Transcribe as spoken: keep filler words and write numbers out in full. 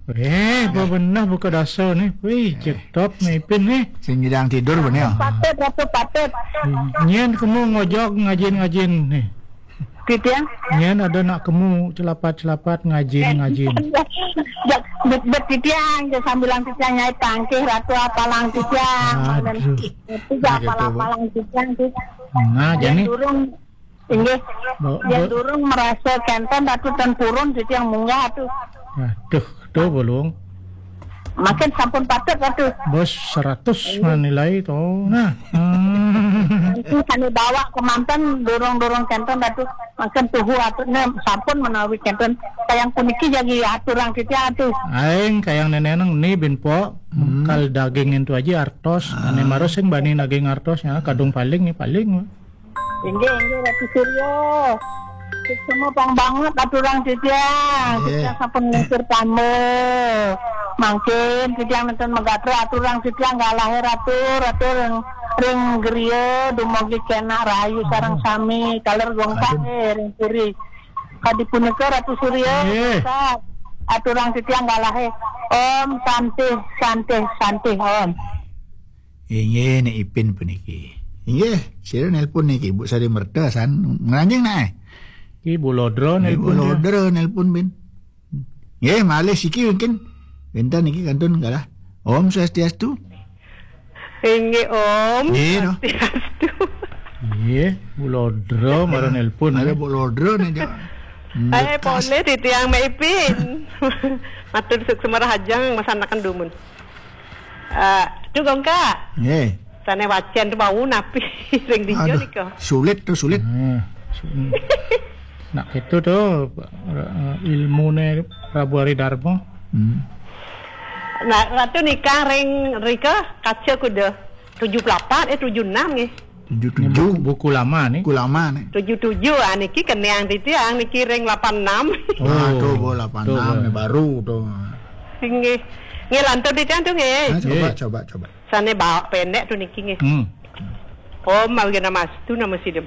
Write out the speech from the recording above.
Eh, apa beneh buka dasa nih? Wih, cetop nih Ipin nih. Sing nyidang tidur beneh. Patut, Ratu, patut. Nyén kemu ngojog ngajin-ngajin nih. Titiang? Nyén ada nak kemu celapat-celapat ngajin-ngajin. Bet, bet titiang, je sambilang titiang nyai tangkih, Ratu, apalang titiang. Aduh. Itu apalang-apalang titiang, tuh. Nah, jadi durung, inggih. Bo-, yang bo-, durung merasa kenten, Ratu, ten purun titiang munggah, tuh. Aduh, tuh, Bulung. Makin sampun patut, Ratu. Bos seratus mah nilai to. Nah. Hmm. Nanti sane bawa kemanten, durung-durung kenten, Ratu. Makin tuhu, Ratu, ne sampun menawi kenten. Kayang puniki jagi aturang titiang, Ratu. Aing kayang neneneng ni bin po. Hmm. Kal daging itu aja artos. Ane maro sing bani daging artos, ya, kadung paling, ya, paling. Inggih, inggih, Ratu Surya. Suksma pang banget aturang titiang. Titiang sampun nglingsir tamba. Mangkin titiang nenten magatra aturang titiang galahe, Ratu, Ratu ring, ring griya dumugi kenak rahayu sareng sami. Taler Gongkak, eh, ring puri. Kadi punika, Ratu Surya, aturang titiang galahe. Om Santih, Santih, Santih, Om. Inggih, Nek Ipin puniki. Inggih, sira nelpon niki, Ibu Sari Merta, san ngranjing, Nak, eh? Ki Bu Lodra nelpon. Bu Lodra nelpon, bin. Nggih, malih siki mungkin wénten niki kantun galah. Om Swastiastu. Inggih, Om. Nggih, no. Swastiastu. Nggih, Bu Lodra mara nelpon. Ada Bu Lodra nih, Jok. Eh, polih titiang Mek Ipin. Matur suksma rahajeng masanaken dumun. Eh, Ratu Gongkak. Nggih. Sane wacen tu bau napi ring dija nika. Sulit tu, sulit. Hmm. Nak itu tu, eh, ilmune Prabu Ari Darma. Hmm. Nah, Ratu nikah ring rika kaca kuda tujuh puluh delapan, eh, tujuh enam nggih. Ini buku, buku lama nih. Buku lama nih. Tujuh tujuh, ah, niki keneang titiang niki ring lapan enam. Oh, tuh, bo, lapan enam nih, baru tuh. Nggih. Nggih, lantur titiang tuh nggih. Nah, coba, coba, coba. Sane bawa pendek tuh niki nggih. Hmm. Om Awighnamastu nama sidem.